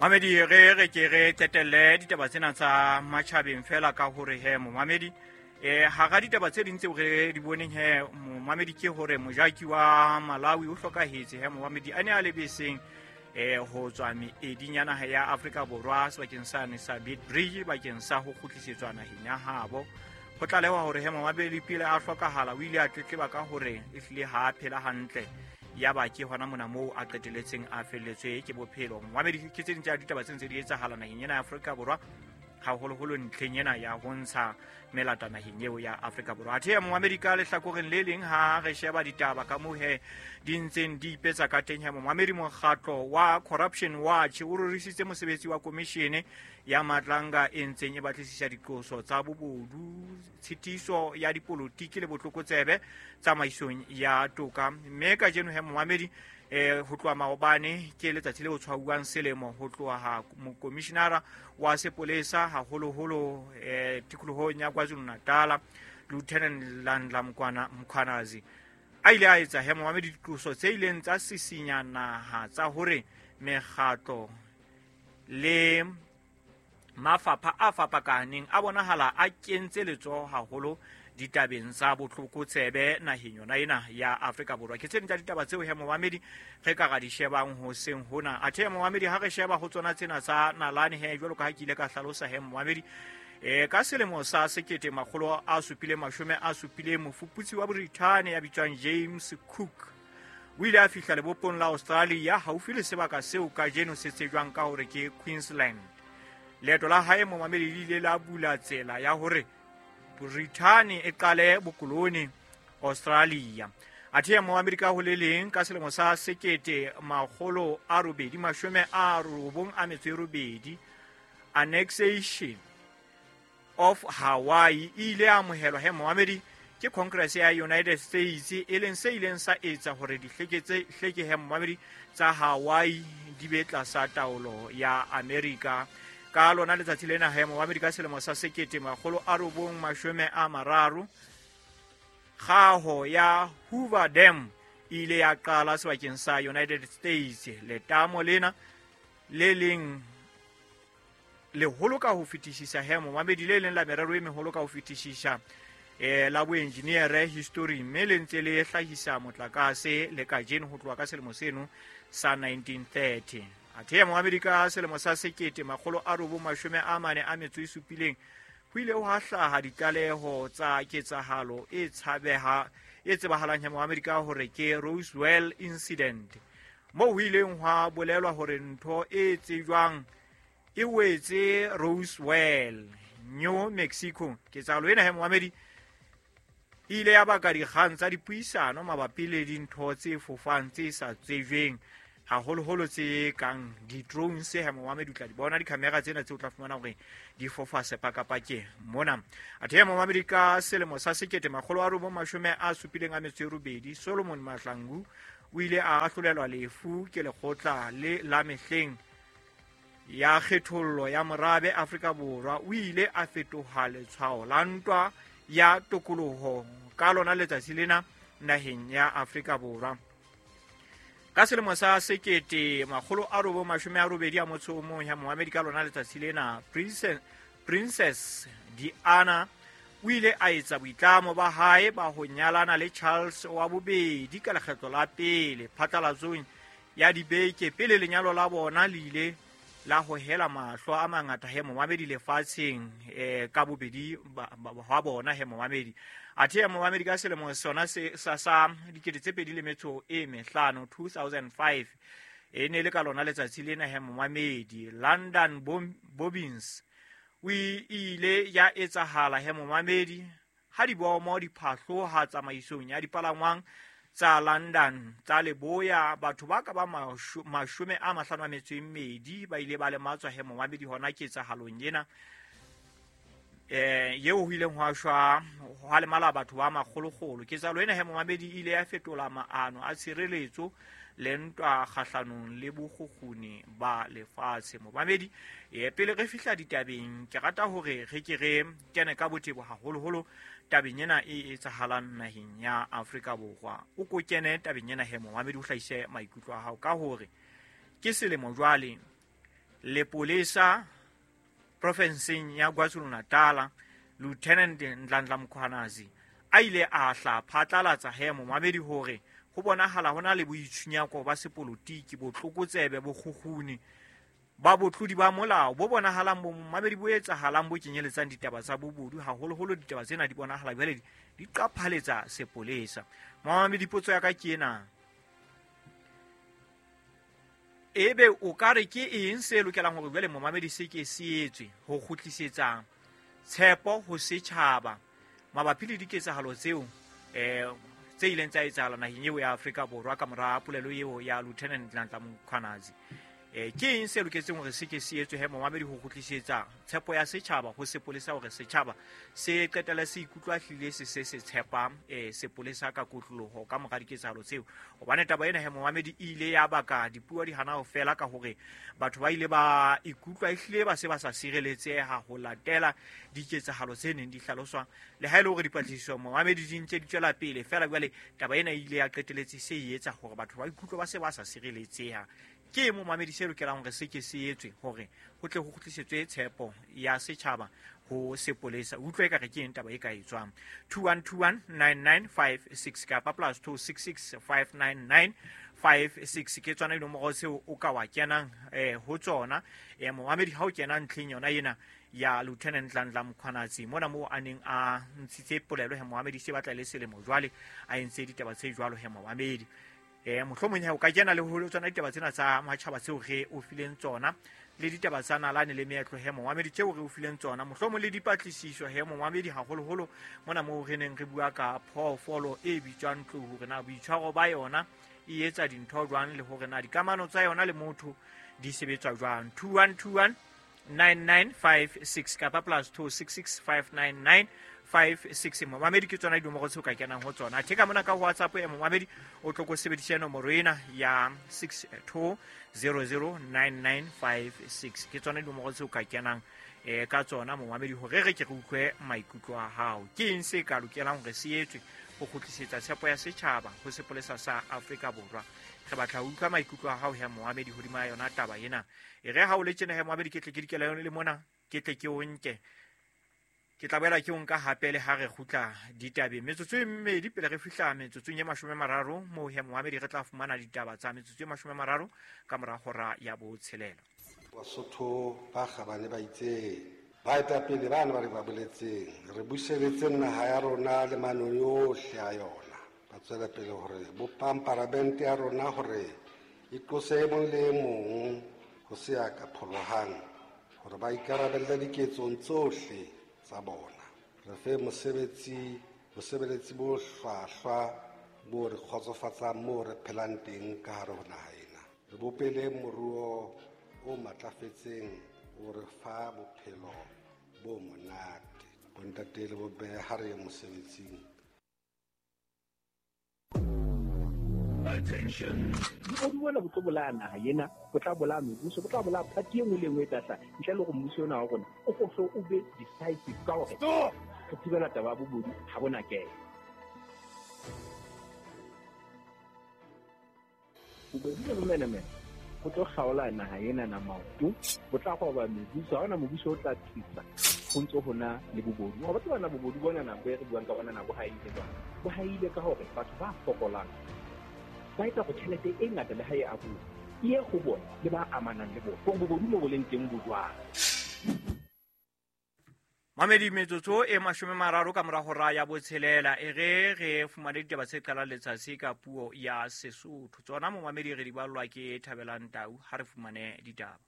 Mamedi, re re ke re qetelle ditaba tsena tsa matjhabeng fela ka hore he momamedi, hara ditaba tse ding tseo re di boneng he momamedi ke hore mojaki wa Malawi o hlokahetse he momamedi, a ne a le beseng ho tswa meeding ya naha ya Afrika Borwa sebakeng sane sa Beitbridge bakeng sa ho kgutlisetswa naheng ya habo. Ho tlalewa hore he momamedi pele a hlokahala o ile a tletleba ka hore ehlile ha a phela hantle, ya ba ke hona mona moo a qeteletseng a felletswe ke bophelo. Momamedi, ke tse ding tsa ditaba tse ntse di etsahala naheng ena ya Afrika Borwa, haholoholo ntlheng ena ya ho ntsha melata naheng eo ya Afrika Borwa. Athe momamedi, ka lehlakoreng le leng ha re sheba ditaba ka moo he di ntseng di ipetsa ka teng he momamedi, mokgatlo wa Corruption Watch o rorisitse mosebetsi wa komishene ya Matlanga e ntseng e batlisisa diqoso tsa bobodu, tshitiso ya dipolotiki le botlokotsebe tsamaisong ya toka. Mme kajeno he momamedi, ho tloha maobane ke letsatsi le o tshwauwang selemo ho tloha ha mokomishinara wa sepolesa haholoholo tikolohong ya KwaZulu Natal, Lieutenant Nhlanhla Mkhwanazi, a ile a etsa he momamedi diqoso tse ileng tsa sisinya naha tsa hore mekgatlo le mafapha a fapakaneng a bonahala a kentse letsoho haholo ditabeng tsa botlokotsebe naheng yona ena ya Afrika Borwa. Ke tse ding tsa ditaba tseo he momamedi re ka ra di shebang hoseng hona. Athe momamedi, ha re sheba ho tsona tsena tsa nalane he, jwalo ka ha ke ile ka hlalosa he momamedi, ka selemo sa 1770, mofuputsi wa Brithani ya bitswang James Cook o ile a fihla lebopong la Australia haufi le sebaka seo kajeno se tsejwang ka hore ke Queensland. Leeto la hae momamedi le ile la bula tsela ya hore Brithani e qale bokolone Australia. Athe momamedi, ka ho le leng, ka selemo sa 1898, annexation of Hawaii e ile ya amohelwa he momamedi ke Congress ya United States, e leng se ileng sa etsa hore dihleke he momamedi tsa Hawaii di be tlasa taolo ya Amerika. Ka lona letsatsi lena he momamedi, ka selemo sa 1930, kgaho ya Hoover Dam e ile ya qala sebakeng sa United States. Letamo lena le leng leholo ka ho fetisisa he momamedi, le leng la merero e meholo ka ho fetisisa la boenjiniere history, mme le ntse le hlahisa motlakase le kajeno ho tloha ka selemo seno sa 1930. Athe momamedi, ka selemo sa 1947, ho ile hwa hlaha ditlaleho tsa ketsahalo e tshabeha e tsebahalang he momamedi ka hore ke Roswell incident, moo ho ileng hwa bolelwa hore ntho e tsejwang e wetse Roswell, New Mexico. Ketsahalo ena he momamedi e ile ya baka dikgang tsa dipuisano mabapi le dintho tse fofang tse sa tsejweng, haholoholo tse kang di-drones he momamedi. O tla di bona di-camera tsena tse o tla fumana hore di fofa sepakapakeng mona. Athe momamedi, ka selemo sa 1978, Solomon Mahlangu o ile a ahlolelwa lefu ke lekgotla le la mehleng ya kgethollo ya morabe Afrika Borwa. O ile a fetoha letshwao la ntwa ya tokoloho ka lona letsatsi lena naheng ya Afrika Borwa. Ka selemo sa 1981 ya momamedi, ka lona letsatsi lena, Princess Diana o ile a etsa boitlamo ba hae ba ho nyalana le Charles wa bobedi ka lekgetlo la pele phatlalatsong ya dibeke pele lenyalo la bona le ile la hohela mahlo a mangata he momamedi lefatsheng ka bobedi hwa bona he momamedi. Athe momamedi, ka selemo sona se sa 2005, 2005, e ne le ka lona letsatsi lena he momamedi, London bombings o ile ya etsahala he momamedi, ha dibomo di phahloha tsamaisong ya dipalangwang tsa London tsa leboya. Batho ba ka ba 52 ba ile ba lematswa he momamedi hona ketsahalong ena yeo ho ileng hwa shwa, hwa lemala batho ba makgolokgolo. Ketsahalo ena he momamedi e ile ya fetola maano a tshireletso le ntwa kgahlanong le bokgukguni ba lefatshe. Momamedi, pele re fihla ditabeng, ke rata hore re ke re kene ka botebo haholoholo tabeng ena e etsahalang naheng ya Afrika Borwa. O ko kene tabeng ena he momamedi, o hlahise maikutlo a hao ka hore ke selemo jwale. Lepolesa profenseng ya KwaZulu-Natal Lieutenant Nhlanhla Mkhwanazi a ile a hla phatlalatsa he momamedi hore ho bonahala ho na le boitshunyako ba sepolotiki, botlokotsebe, bokgukguni ba botlodi ba molao bo bonahalang bo momamedi bo etsahalang bo kenyeletsang ditaba tsa bobodu, haholoholo ditaba tsena di bonahala jwale di qaphaletsa sepolesa. Momamedi, potso ya ka ke ena: ebe o ka re ke eng se lokelang hore jwale momamedi se ke se etswe ho kgutlisetsa tshepo ho setjhaba mabapi le diketsahalo tseo tse ileng tsa etsahala naheng eo ya Afrika Borwa ka mora polelo eo ya Lieutenant Nhlanhla Mkhwanazi? Ke eng se loketseng hore se ke se etswe he momamedi ho kgutlisetsa tshepo ya setjhaba ho sepolesa, hore setjhaba se qetelle se ikutlwa hlile se se se tshepa sepolesa ka kotloloho ka mora diketsahalo tseo? Hobane taba ena he momamedi e ile ya baka dipuo di hana ho fela ka hore batho ba ile ba ikutlwa ehlile ba se ba sa sireletseha ho latela diketsahalo tse neng di hlaloswa, le ha e le hore dipatlisiso momamedi di ntse di tswela pele. Fela jwale taba ena e ile ya qeteletse se e etsa hore batho ba ikutlwe ba se ba sa sireletseha. Ke momamedi se lokelang hore se ke se etswe hore ho tle ho kgutlisetswe tshepo ya setjhaba ho sepolesa? Utlwe ekare ke eng taba e ka etswang? 21219956 kapa +26659956 ke tsona dinomoro tseo o ka wa kenang ho tsona. Momamedi, ha o kena ntlheng yona ena ya Lieutenant Nhlanhla Mkhwanazi mona moo a neng a ntshitse polelo he momamedi, se batla le selemo jwale a entse ditaba tse jwalo he momamedi. Mohlomong he o ka kena le ho tsona ditaba tsena tsa matjhaba tseo re o fileng tsona, le ditaba tsa nalane le meetlo he momamedi tseo re o fileng tsona, mohlomong le dipatlisiso he momamedi, haholoholo mona moo re neng re bua ka phoofolo e bitswang tlou, hore na boitshwaro ba yona e etsa dintho jwang, le hore na dikamano tsa yona le motho di sebetswa jwang. 21219956 kapa +26659956 momamedi ke tsona dinomoro tseo ka kenang ho tsona. Athe ka mona ka WhatsApp e momamedi o tlo ko sebedise nomoro ena ya 62009956, ke tsona dinomoro tseo ka kenang ka tsona momamedi hore re ke re utlwe maikutlo a hao. Ke eng se ka lokelang hore se etswe ho kgutlisetsa tshepo ya setjhaba ho sepolesa sa Afrika Borwa? Re batla ho utlwa maikutlo a hao he momamedi hodima yona taba ena. E re ha o le tjena he momamedi, ke tle ke dikela yone le mona, ke tle ke o nke, ke tla boela ke o nka hape le ha re kgutla ditabeng metsotso e mmedi pele re fihla metsotsong e 30 moo he momamedi re tla fumana ditaba tsa metsotso e 30 ka mora hora ya botshelela. Basotho ba kgabane ba itseng, baetapele bana ba re ba boletseng, re buseletse naha ya rona le manong yohle a yona. Ba tswela pele hore bopang paramente ya rona hore e qose e mong le e mong ho se ya ka pholohang, hore ba ikarabelle diketsong tsohle tsa bona. Re fe mosebetsi, bosebeletsi bo hlwahlwa bo re kgotsofatsang moo re phelang teng ka hare ho naha ena. Re bopele moruo o matlafetseng o re fa bophelo bo monate. Bontate le bomme, ha re ye mosebetsing. Attention. Bobodu bona bo tlo bolaya naha ena, bo tla bolaya mebuso, bo tla bolaya party e nngwe le e nngwe e tla hlaha. Ntle le hore mmuso ona wa rona o ko o be decisive ka hore Stop! re thibela taba ya bobodu ha bona kena. Bobodu le bomenemene bo tlo kgaola naha ena na maoto, bo tla roba mebuso, ha hona mobuso o tla tsitsa ho ntso hona le bobodu. Wa tseba na bobodu bona na bo e re buang ka bona na bo haile jwang? Bo haile ka hore batho ba fokolang ba etsa hore tjhelete e ngata le ha e abuwa e ye ho bona le ba amanang le bona, hore bobodu mo bo leng teng bo jwang. Mamedi, metsotso e 30 ka mora hora ya botshelela, e re re fumane ditaba tse qalang letsatsi ka puo ya Sesotho. Tsona momamedi re di ballwa ke Thabelang Tau. Ha re fumane ditaba.